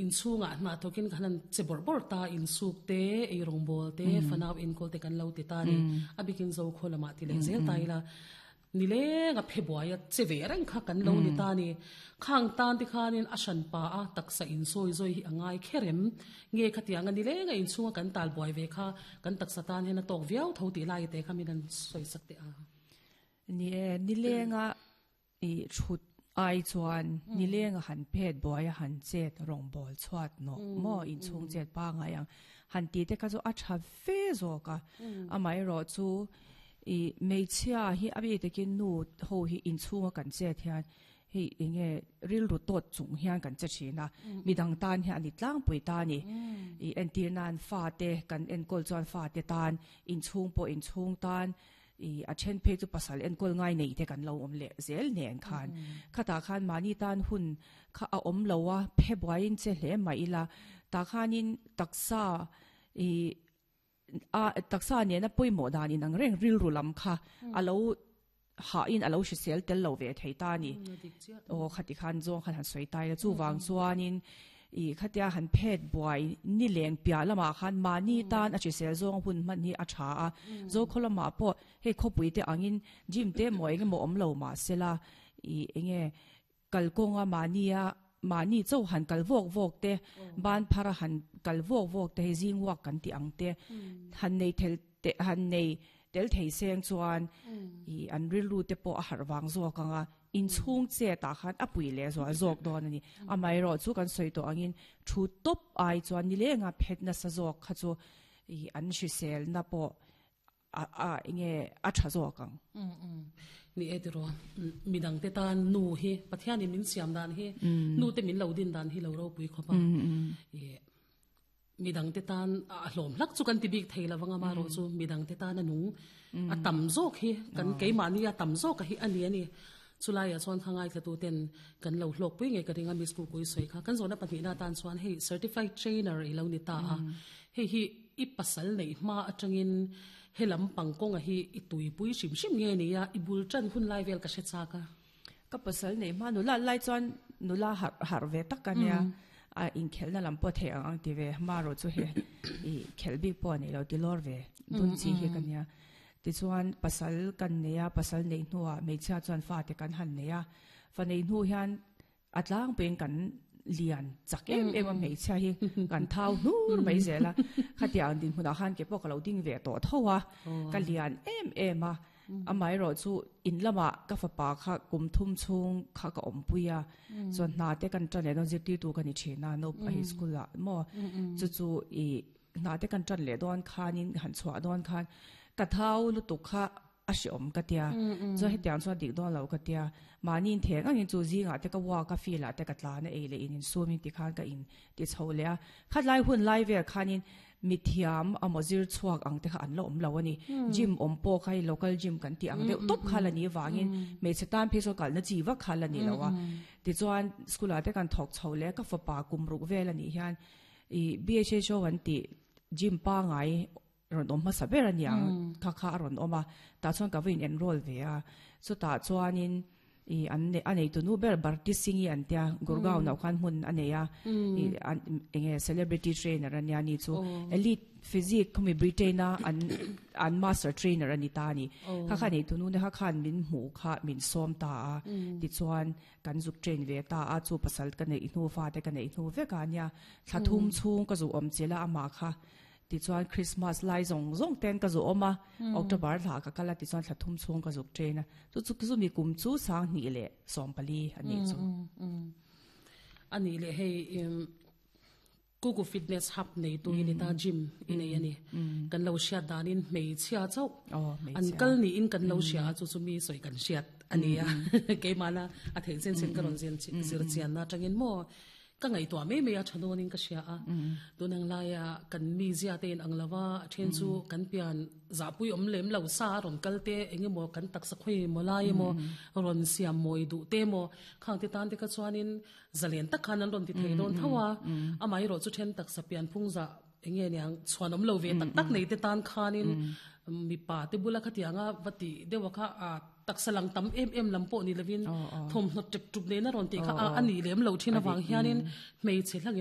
Inchhungah hna thawkin kan han che bawrh bawrh ta, insuk te, eirawngbawl te, fanau enkawl te kan lo ti ta a ni. A bikin Zokhaw lamah ti leh zel ta ila, nilenga phe buaia che ve reng kha kan lo ni ta a ni. Khang tan te khanin a hran pa a taksa insawi zawi hi a ngai kher em? Nge khatianga nilenga inchhunga kan tal buai ve kha kan taksa tan hian a tawk viau tho tih lai te kha min han sawi sak teh a. Ni e, nilenga I thut ai chuan nileng a han phet buai a han chet rawngbawl chhuat nawh maw inchhung chet pangai ang han tih te kha chu a tha fe zawk a, amaherawh chu i hmeichhia hi a bik takin nu ho hi inchhunga kan chet hian hei enge rilru tawt chung hian kan che thin a, midang tan hian a ni tlangpui ta a ni. I entir nan fate kan enkawl chuan fate tan inchhung pawh inchhung tan I a then phei chu pasal enkawl ngai nei te kan lo awm leh zel nen khan khatah khan mahni tan hun kha a awm lo a, phe buaiin che hle mah ila tah khanin taksa i a taksa nena pawimawh dan inang reng rilru lam kha a lo hahin a lo hrisel tel lo ve thei ta a ni. Aw khati khan zawng khan han sawi ta ila chuvang chuanin I khatia han phet buai ni leng piah lamah khan mahni tan a hrisel zawng hun hman hi a tha a, Zokhaw lamah pawh hei khawpui te angin gym te emaw eng emaw awm lo mah sela i enge kalkawnga mahnia mahni chauh han kal vawk vawk te ban phara han kal vawk vawk te hei zing walk kan tih ang te han nei thel te han nei tel thei seng chuan i an rilru te pawh a harh vang zawk ang a. Inchhung chet ah khan a pui leh zual zawk dawn a ni. Amaherawh chu kan sawi tawh angin thu tawp ai chuan nilenga phet nasa zawk kha chu i an hriselna pawh a a enge a tha zawk ang. Ni e tiraw, midangte tan nu hi Pathianin min siam dan hi nu te min lo din dan hi lo ropui khawp a. I Midangte tan a hlawm hlak chu kan ti bik thei lo vang a, amaherawh chu midangte tan a nung a tam zawk hi kan keimahni a tam zawk a hi a ni a ni. Chulaiah chuan kha ngaithlatu ten kan lo hlawkpui ngei ka ring a Miss Kukui sawi kha. Kan zawhna pahnihna atan chuan hei certified trainer i lo ni ta a, hei hi i pasal neih hma atangin he lam pang kawnga hi i tuipui hrim hrim nge ni a, i bul tan hun lai vel ka hre chak a. Ka pasal neih hma nula lai chuan nula harh harh ve tak a nia, a inkhelhna lam pawh theih ang ang ti ve hma erawh chu hei i khelh bik pawh a nei lo ti lawr ve dun chi hi ka nia. Tichuan pasal kan nei a, pasal neih hnuah hmeichhia chuan fate kan han nei a, fa neih hnu hian a tlangpuiin kan lian chak em em a hmeichhia hi kan thau hnur mai zel a, khatiang dinhmunah khan ke pawh ka lo ding ve tawh tho a, ka lian em em a. Amaherawh chu in lamah ka fapa kha kum thum chhung kha ka awmpui a, chuan hna te kan tan leh dawn zirtirtu ka ni thin a naupang hi school ah maw chu chu i hna te kan tan leh dawn khanin han chhuah dawn khan ka thau lutuk kha a hreawm ka tia chuan hetiang chuan dik dawn lo ka tia mahni in theng angin chu zingah te ka walk a field ah te ka tlan a ei leh in insum in tikhan ka in ti chho leh a khatlai hun lai vel khanin Mithiam amaw zir chhuak ang te kha an la awm lo a ni. Gym awm pawh kha hei local gym kan tih ang deuh tawp kha la ni avangin hmeichhe tan phei chuan kalna chi vak kha la ni lo a. Tichuan school ah te kan thawk chho leh ka fapa kum ruk vel a nih hian ih BHHO an tih gym pangai rawn awm hmasa ber a niang kha kha a rawn awm a, tah chuan ka va in enroll ve a. Chutah chuanin I an a neitu nu ber Bharti Singh-i an tia Gurgaon ah khan hmun a nei a i an eng nge celebrity trainer a nia ni chu elite physique khawmi Britain a an an master trainer a ni ta a ni kha kha neitu nu te kha khan min hmuh kha min sawm ta a tichuan kan zuk train ve ta a chu pasal ka neih hnu fate ka neih hnu vek a nia thla thum chhung ka zu awm chilh a amah kha Tichuan Christmas lai zawng zawng ten ka zu awm a, October thla ka kal a tichuan thla thum chhung ka zuk train a, chu chu chumi kum chu 20 leh 14 a nih chu. A nih leh hei Kuku Fitness Hub nei tu i ni ta gym i nei a ni. Kan lo hriat danin hmeichhia chauh an kal niin kan lo hria a chu chu mi sawi kan hriat a ni a. Keimahna a theih chen chen ka rawn zir chianna atangin maw Ka ngaihtuah mai mai a tha dawnin ka hria a, tun ang laia kan mizia te in ang lo va, a then chu kan pian zahpui awm lem lo sa a rawn kal te eng emaw kan taksa khawi emaw lai emaw rawn siam mawi duh te emaw khang te tan te kha chuanin zalen tak khan an rawn ti thei dawn tho a, amaherawh chu then taksa pian phung zah eng nge niang chhuan awm lo ve tak tak nei te tan khanin mipa te bula khatianga va tih deuh a kha a Taksa lang tam em em lam pawh ni lovin thawmhnaw ṭep ṭup nena rawn tih kha a nih lem lo ṭhin avang hianin hmeichhe hlangin